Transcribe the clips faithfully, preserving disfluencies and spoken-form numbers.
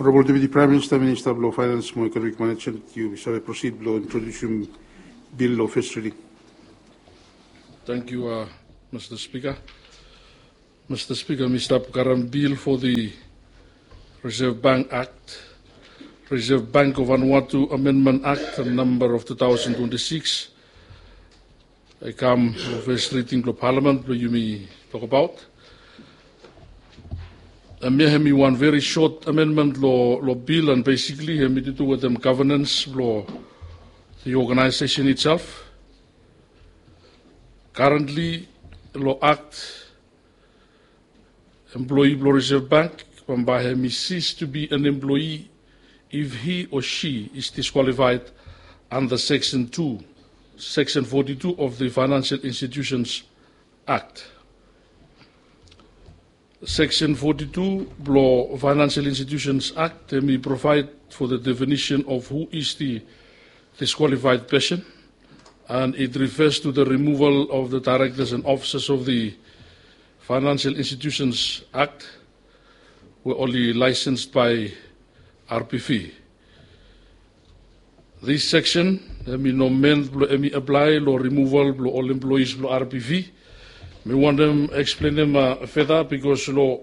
Honorable Deputy Prime Minister, Minister blong Finance mo Economic Management, yu save proceed blong introdusim bill long first reading. Thank you, uh, Mister Speaker. Mister Speaker, mi stap karem bill for the Reserve Bank Act, Reserve Bank of Vanuatu Amendment Act number of two thousand twenty-six. I kam long first reading blong Parliament blong yumi tokabaot. Hemia hemi wan very short amendment long bill, and basically hemi to do wetem governance blong the organization itself. Currently, long Act, employee blong Reserve Bank bambae hemi cease to be an employee if he or she is disqualified under Section two, Section forty-two of the Financial Institutions Act. Section forty-two blong Financial Institutions Act hemi provide for the definition of who is the disqualified person, and it refers to the removal of the directors and officers of the Financial Institutions Act we oli licensed by R P V. This section hemi no meant blong hemi apply long removal blong ol employees blong R P V. Mi wantem explainem further because long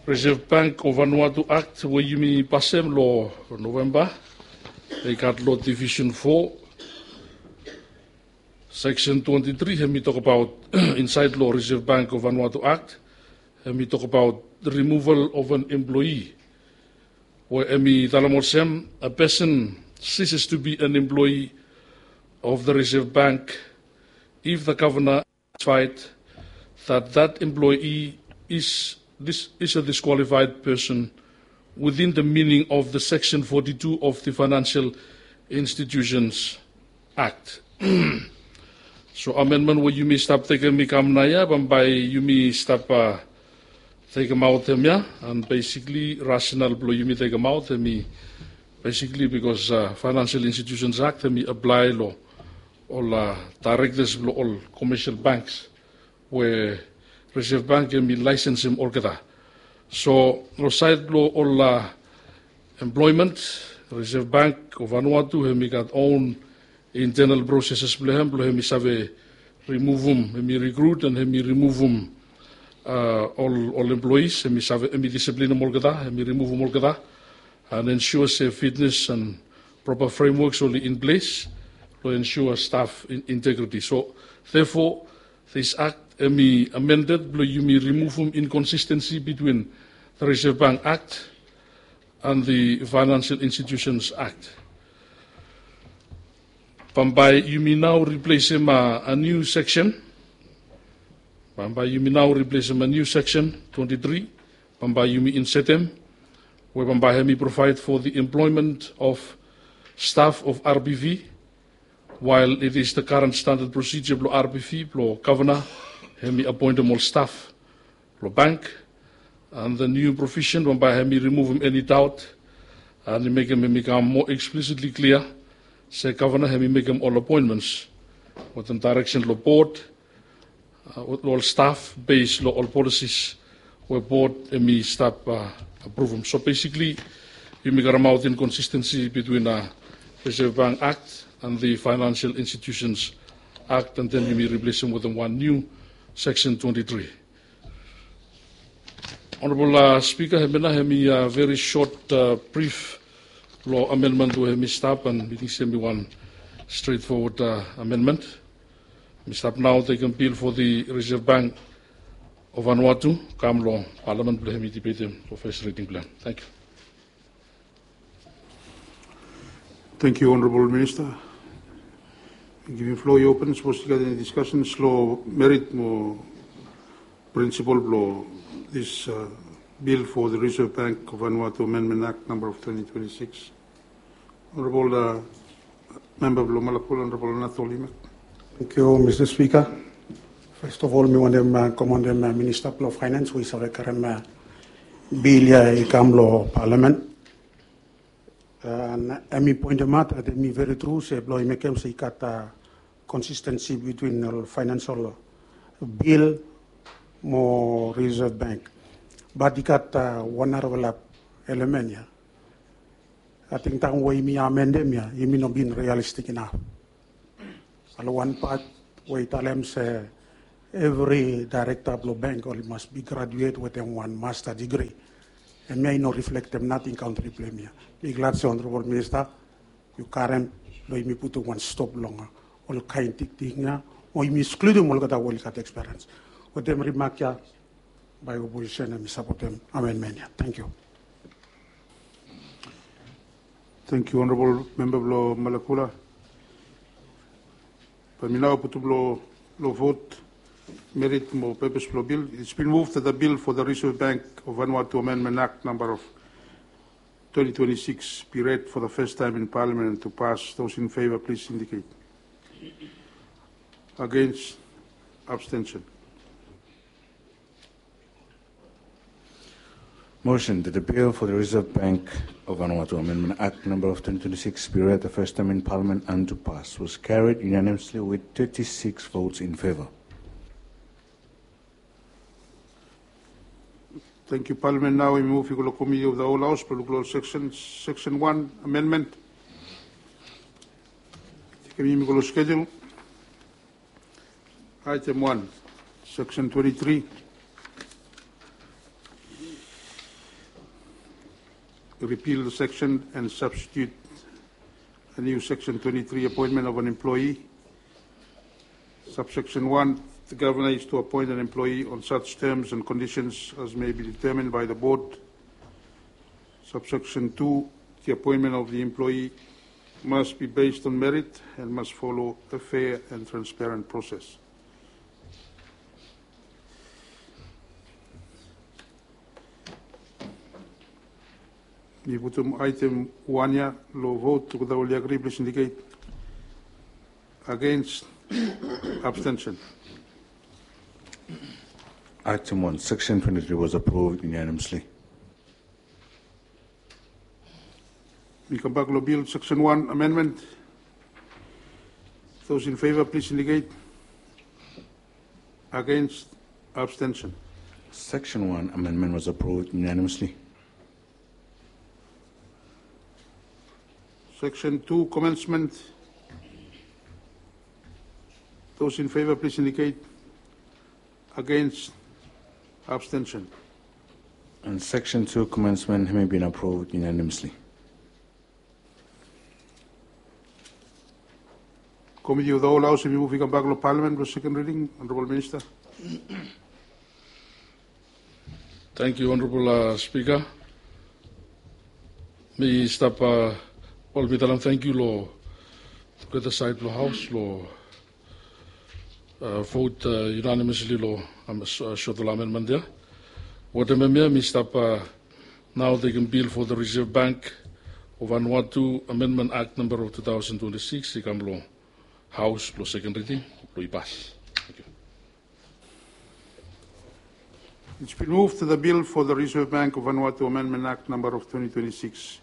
Reserve Bank of Vanuatu Act we yumi pasem long November, i gat long Division four, Section twenty-three hemi tokabaot insaed long Reserve Bank of Vanuatu Act, hemi tokabaot removal of an employee, we hemi talem olsem, a person ceases to be an employee of the Reserve Bank if the governor satisfied that that employee is, this, is a disqualified person within the meaning of the Section forty-two of the Financial Institutions Act. So amendment we yumi stap tekem i kam naoia, bambae yumi stap tekemaot hemia, and basically rationale blong yumi tekemaot hemi basically because Financial Institutions Act hemi apply long ol directors blong ol commercial banks we Reserve Bank hemi licensem olgeta. So long saed blong ol employment, Reserve Bank of Vanuatu hemi gat own internal processes blong hem blong hemi save remuvum, hemi recruit and hemi remuvum ol employees, hemi save, hemi disiplinem olgeta, hemi remuvum olgeta, and ensure se fitness and proper frameworks oli in place blong ensure staff integrity. So therefore, this Act hemi amended blong yumi remuvum inconsistency between the Reserve Bank Act and the Financial Institutions Act. Bambae yumi nao replacem a new section. Bambae yumi nao replacem a new section twenty-three. Bambae yumi insertem we bambae hemi provide for the employment of staff of R P V, while it is the current standard procedure blong R P V blong governor hemi appointem ol staff blong bank, and the new provision bambae hemi remuvum eni doubt, and i mekem hemi kam more explicitly clear se governor hemi mekem ol appointments wetem direction long board, ol staff based long ol policies we board hemi stap appruvum. So basically yumi karemaot inconsistency between Reserve Bank Act and the Financial Institutions Act, and then yumi replacem wetem wan new section twenty-three. Honorable Speaker, hemia nao hemi very short brief long amendment we hemi stap, and mi ting se hemi wan straightforward amendment. Mi stap nao tekem bill for the Reserve Bank of Vanuatu kam long Parliament blong hemi debatem long first reading blong hem. Thank you. Thank you, Honorable Minister. Givim floor i open, sapos i gat eni discussions long merit mo principle blong this bill for the Reserve Bank of Vanuatu Amendment Act number of twenty twenty-six. Honorable member blong Malakula, Honorable Natol Imak. Thank you, Mister Speaker. First of all, mi wantem commendem Minister blong Finance we i save karem bill ia i kam long Parliament. Hemi pointemaot that hemi very true se blong i mekem se i gat consistency between ol financial bill mo Reserve Bank. But i gat wan narafala element ia. Ating taem we yumi amendem ia, yumi no bin realistik inaf. Long wan pat we i talem se evri daerekta blong bank oli mas bin graduet wetem wan masta digri. Hemia i no riflektem nating kantri blong yumi ia. Mi glad se Honorabol Minista, yu karem blong yumi putum wan stop long olkaen tingting ia, o yumi ekskludim olgeta we oli gat ekspiriens. Wetem rimak ia, bae oposisen hemi sapotem amendmen ia. Tangkiu. Tangkiu Honorabol Memba blong Malakula. Bae mi nao putum long vot merit mo pepes blong bil. It's been moved that the bill for the Reserve Bank of Vanuatu Amendment Act number of twenty twenty-six be read for the first time in Parliament and to pass. Those in favor, please indicate. Against, abstention. Motion that the bill for the Reserve Bank of Vanuatu Amendment Act number of twenty twenty-six be read the first time in Parliament and to pass was carried unanimously with thirty-six votes in favor. Tangkiu. Parliament nao i muv i go long Committee of the Whole House blong luk long section, section one amendment. Tekem yumi go long schedule. Item one, section twenty-three. Repeal the section and substitute a new section twenty-three, appointment of an employee. Subsection one, the governor is to appoint an employee on such terms and conditions as may be determined by the board. Subsection two, the appointment of the employee must be based on merit and must follow a fair and transparent process. Mi putum item one ia long vot. Olgeta oli agri, please indicate. Against, abstention. Item one, section twenty-three was approved unanimously. Mi kambak long bil, section one amendment. Those in favor, please indicate. Against, abstention. Section one amendment was approved unanimously. Section two commencement. Those in favor, please indicate. Against, abstention. And section two commencement hemi bin approved unanimously. Committee of the Whole House hemi muv i kambak long Parliament blong second reading. Honorable Minister. Tangkiu Honorable Speaker. Mi stap, wel, mi talem tangkiu long olgeta saed blong Haos long vot unanimously long sot long amendment ia. Wetem hemia mi stap nao tekem bil for the Reserve Bank of Vanuatu Amendment Act number of two thousand twenty-six i kam long Haos blong second reading blong i pas. Tangkiu. It's been moved that the bill for the Reserve Bank of Vanuatu Amendment Act number of twenty twenty-six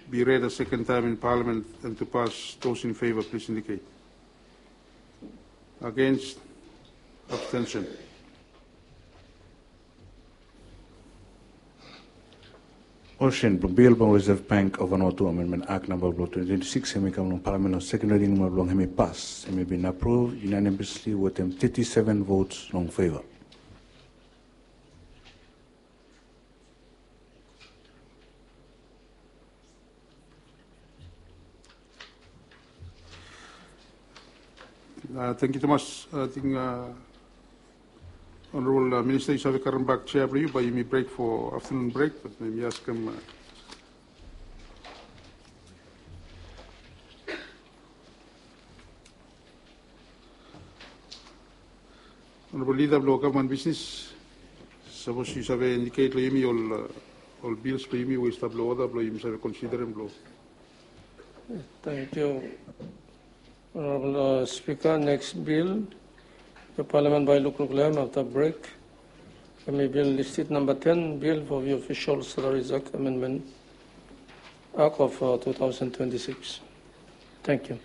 be read a second time in Parliament and to pass. Those in favor, please indicate. Against, abstention. Motion blong bil blong Reserve Bank of Vanuatu Amendment Act number blong twenty twenty-six hemi kam long Parliament long second reading mo blong hemi pas. Hemi bin approved unanimously wetem thirty-seven votes long favor. Tangkiu tumas. Ating Honorable Minister, yu save karem bak chair blong yu, bae yumi brek for afternoon brek, bat mi askem Honorable Leader blong Gavman Bisnis, sapos yu save indicate long yumi ol bills blong yumi we i stap long order blong yumi save considerem blong. Tangkiu Honorable Speaker. Next bill we Parliament bae i lukluk long hem afta brek hemi bil listed number ten, bill for the Official Salaries Act Amendment Act of two thousand twenty-six. Tangkiu.